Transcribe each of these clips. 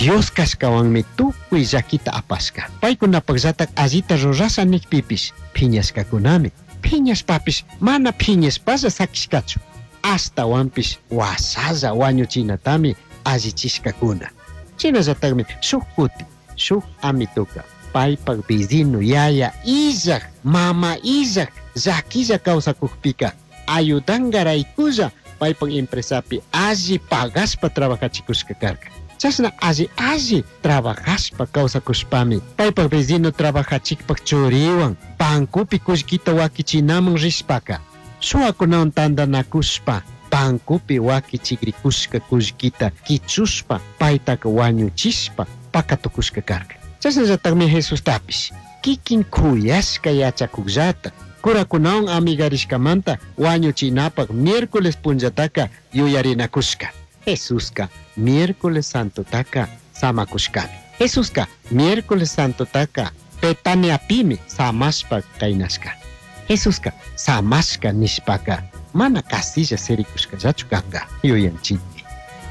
Dios cashcahuanmi tucui llaquita apashca. Paicunapajllataj allita rurasha nijpipish piñashcacunami. Piñashpapish mana piñashpalla saquishcachu. Ashtahuanpish huashalla huañuchinatami allichishcacuna. Shinallatajmi shuj cutin shuj amitoca paipaj vecino yaya illaj, mama illaj, llaquilla causacujpica ayudangaraiculla paipaj empresapi alli pagashpa trabajachicushca carca. Chashna alli alli trabajashpa causacushpami paipaj vecino trabajachikpaj churihuan bancopi cullquita huaquichinaman rishpaca shuwacunawan tandanacushpa bancopi huaquichigricushca cullquita quichushpa paitaca huañuchishpa pacatucushca carca. Chashnallatajmi Jesustapish kikin kuyashka yachakukllata curakunawan amigarishkamanta wañuchinapaj miércoles punllataka yuyarinakushka. Jesuska miércoles santotaka samakushkami. Jesuska miércoles santotaka Betaniapimi samashpa kaynashka. Jesuska samashka nishpaka mana casilla sirikushkallachu kanka yuyanchikmi.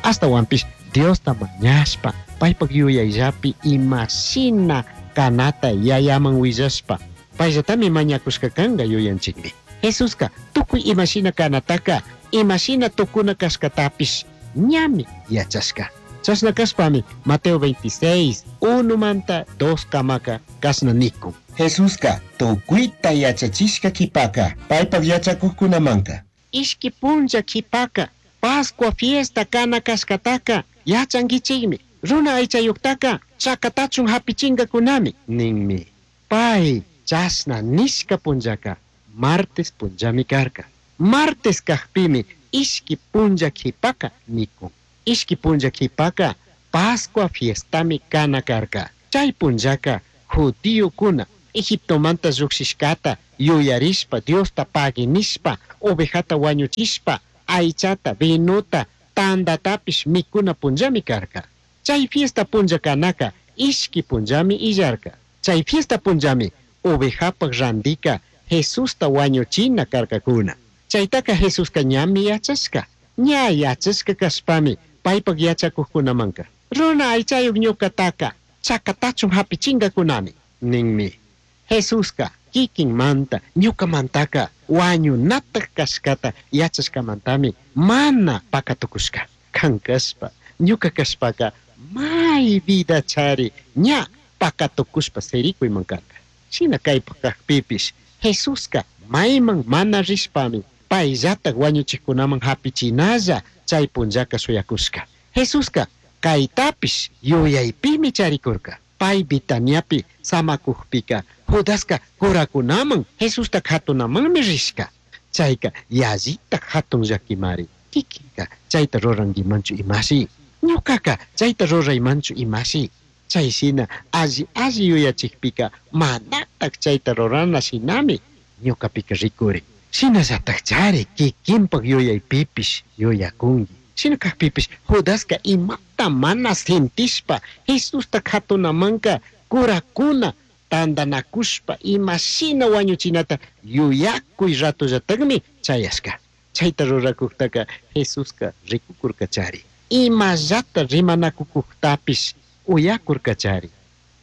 Ashtawanpish Diosta mañashpa paypak yuyayllapi imashina kanata yayaman willashpa payllatami mañakushka kanka yuyanchikmi. Jesuska tukuy imashina kanataka imashina tukuna kashkatapish ñami yachashka. Chashna kashpami Mateo 26, 1 manta 2 kamaka kashna nikun. Jesuska tukuyta yachachishka kipaka paypak yachakukkunamanka. Ishki punlla kipaka Pascua fiesta kana kashkataka yachankichikmi. Runa aychayuktaka chakatachun hapichinkakunami ninmi. Pay chashna nishka punllaka martes punllami karka. Martes kakpimi ishki punlla kipaka nikun. Ishki punlla kipaka Pascua fiestami kana karka. Chay punllaka judíokuna Egiptomanta llukshishkata yuyarishpa Diosta pagui nishpa ovejata wañuchishpa aychata vinota tandatapish mikuna punllami karka. Chay fiesta punlla kanaka ishki punllami illarka. Chay fiesta punllami ovejapaj randika Jesusta wañuchina karkakuna. Chaytaka Jesuska ñami yachashka. Ña yachashka kashpami paypak yachakuqkunamanka. Runa aychayuq ñuqataka chakatachun hapichinkakunami ninmi. Jesuska kikinmanta ñukamantaka wañunataj kashkata yachashkamantami mana pakatukushka. Kan kashpa ñuka kashpaka may vida chari ña pakatukushpa sirikuyman karka. Shina kaypak kakpipish Jesuska mayman mana rishpami payllatak wañuchikkunaman hapichinalla chay punllaka shuyakushka. Jesuska kaytapish yuyaypimi charikurka. Pay Betaniapi samakukpika Judaska curakunaman Jesusta katunamanmi rishka. Chayka yallitak hatun llakimari. Kikinka chayta rurankimanchu imashi. Ñukaka chayta ruraymanchu imashi. Chay shina alli alli yuyachikpika manatak chayta rurana shinami ñukapika rikurin. Shinallatak chari kikinpak yuyaypipish yuyakunki. Shina kakpipish Judaska imata mana sintishpa Jesusta katunamanka kurakuna tandanakushpa imashina wañuchinata yuyakuy ratollatakmi chayashka. Chayta rurakuktaka Jesuska rikukurkachari. Imallata rimanakukuktapish uyakurkachari.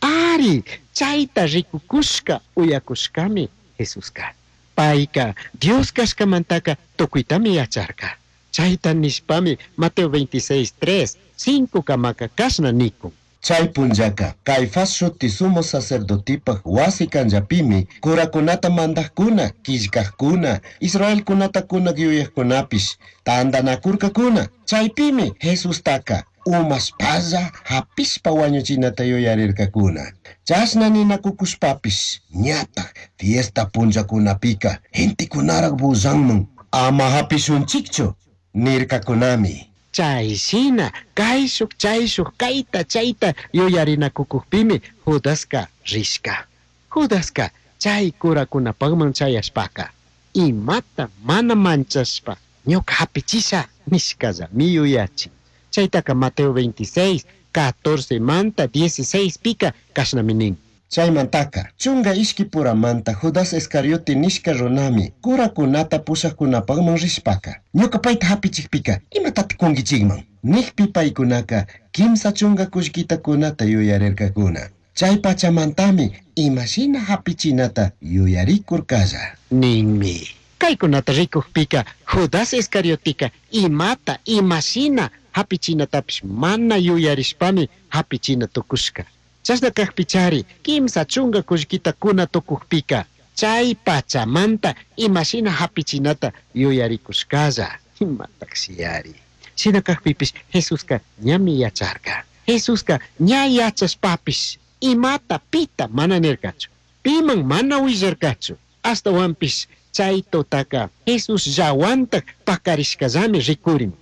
Ari, chayta rikukushka uyakushkami Jesuska. Payka Dios kashkamantaka tukuytami yacharka. Chayta nishpami Mateo 26, 3, 5 kamaka kashna nikun. Chay punllaka Caifás shuti sumo sacerdotipaj wasi kanllapimi curakunata mandajkuna, killkajkuna, israelkunata kunak yuyajkunapish tandanakurkakuna. Chaypimi Jesustaka umashpalla hapishpa wañuchinata yuyarirkakuna. Chashna ninakukushpapish ñataj fiesta punllakunapika gentekunarak bullanman ama hapishunchikchu nirkakunami. Chay shina kayshuk chayshuk kayta chayta yuyarinakukukpimi Judaska rishka. Judaska chay kurakunapakman chayashpaka imata mana manchashpa ñuka hapichisha nishkallami yuyachin. Chaytaka Mateo 26, 14 manta 16 pika kashnami nin. Chaymantaca, chunga ishquipuramanta Judas Iscariote nishca runami curacunata pushajcunapajman rishpaca, ñuca paita hapichijpica imatataj cunguichijman? Nijpi paicunaca quimsa chunga cullquita cunata yuyarircacuna. Chai pachamantami ima shina hapichinata yuyaricurcalla. Ninmi. Caicunata ricujpica Judas Iscarioteca imata ima shina hapichinatapish mana yuyarishpami hapichina tucushca. Chashna cajpichari quimsa chunga cullquita cuna tucujpica chai pachamanta ima shina hapichinata yuyaricushcalla. Imatajshiyari. Shina cajpipish Jesusca ñami yacharca. Jesusca ña yachashpapish imata pita mana nircachu. Piman mana huillarcachu. Ashtahuanpish chay tutaca Jesús llahuantaj pacarishcallami ricurin.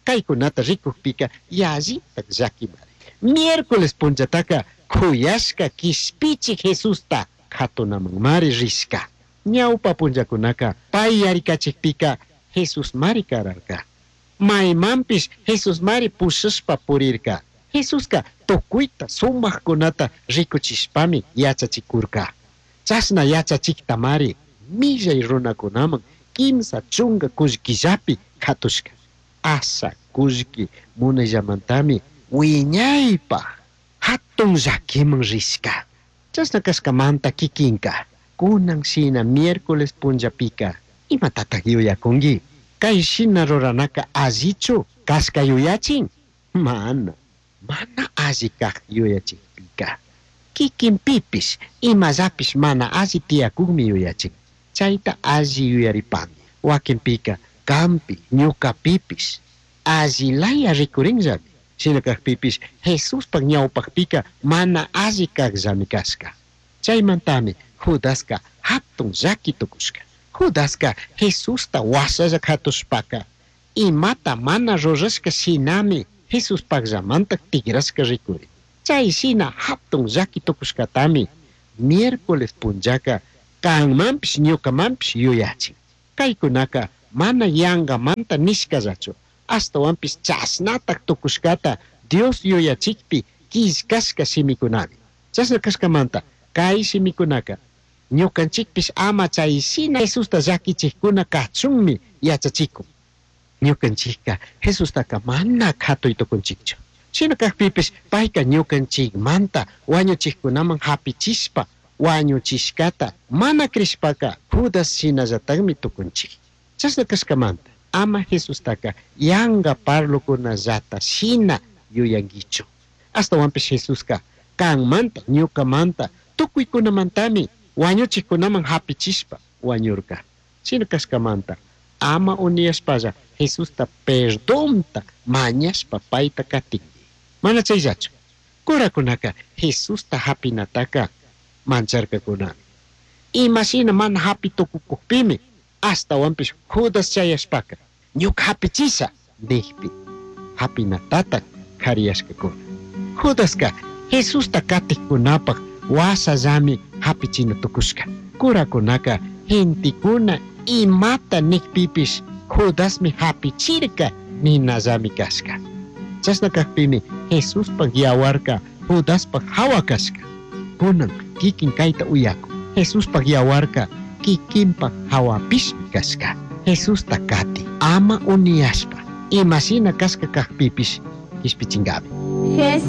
Caicunata ricujpica yallitaj llaquimari. Miércoles punllataca cuyashca quishpichi Jesusta jatunamanmari rishca. Ñaupa punllacunaca pai yaricachijpica Jesusmari cararca. Maimanpish Jesusmari pushashpa purirca. Jesusca tucuita sumajcunata ricuchishpami yachachicurca. Chashna yachachijtamari millai runacunaman quimsa chunga cullquillapi jatushca. Asha cullqui munayllamantami wiñaypaj jatun llaquiman rishca. Chashna cashcamanta kikinka kunan shina miércoles punllapika imatataj yuyacungui? Kay shina ruranaka allichu cashca yuyachin? Mana, mana alli kaj yuyachijpika. Kikinpipish imallapish mana alli tiyakukmi yuyachin. Chayta alli yuyaripangui. Wakinpika kampi ñukapipish allilaya rikurinllami. Shina kajpipish Jesuspaj ñawpajpika mana alli kajllami kashka. Chaymantami Judaska hatun llaki tukushka. Judaska Jesusta washalla katushpaka imata mana rurashka shinami Jesuspajllamanta tigrashka rikurin. Chay shina hatun llaki tukushkatami miércoles punllaka kanmanpish ñukamanpish yuyachin. Kaykunaka mana yangamanta nishkallachu. Ashtahuanpish chashnataj tukushkata Dios yuyachikpi killkashka shimikunami. Chashna kashkamanta kay shimikunaka ñukanchikpish ama chay shina Jesusta llakichikuna kachunmi yachachikun. Ñukanchikka Jesustaka mana katuy tukunchikchu. Shina kajpipish payka ñukanchikmanta wañuchikkunaman hapichishpa wañuchishkata mana crishpaka Judas shinallatakmi tukunchik. Chashna kashkamanta ama Jesustaka yanga parlokunallata shina yuyankichu. Ashtahuanpish Jesuska kanmanta ñukamanta tukuykunamantami wañuchikkunaman hapichishpa wañurka. Shina kashkamanta ama uniyashpalla Jesusta perdonta mañashpa payta katinki. Mana chayllachu. Curakunaka Jesusta hapinataka mancharkakunami. Imashina mana hapi tukukukpimi ashtahuanpish Judas chayashpaka ñuka hapichisha nijpi hapinatataj kariyashkakuna. Judaska Jesusta katikkunapaj washallami hapichina tukushka. Curakunaka gentekuna imata nijpipish Judasmi hapichirka ninallami kashka. Chashna kajpimi Jesuspaj yawarka Judaspaj hawa kashka. Kunan kikin kayta uyaku. Jesuspaj yawarka kikinpaj hawapishmi kashka. Jesusta kati ama uniyashpa imashina kashka kajpipish kishpichinkami.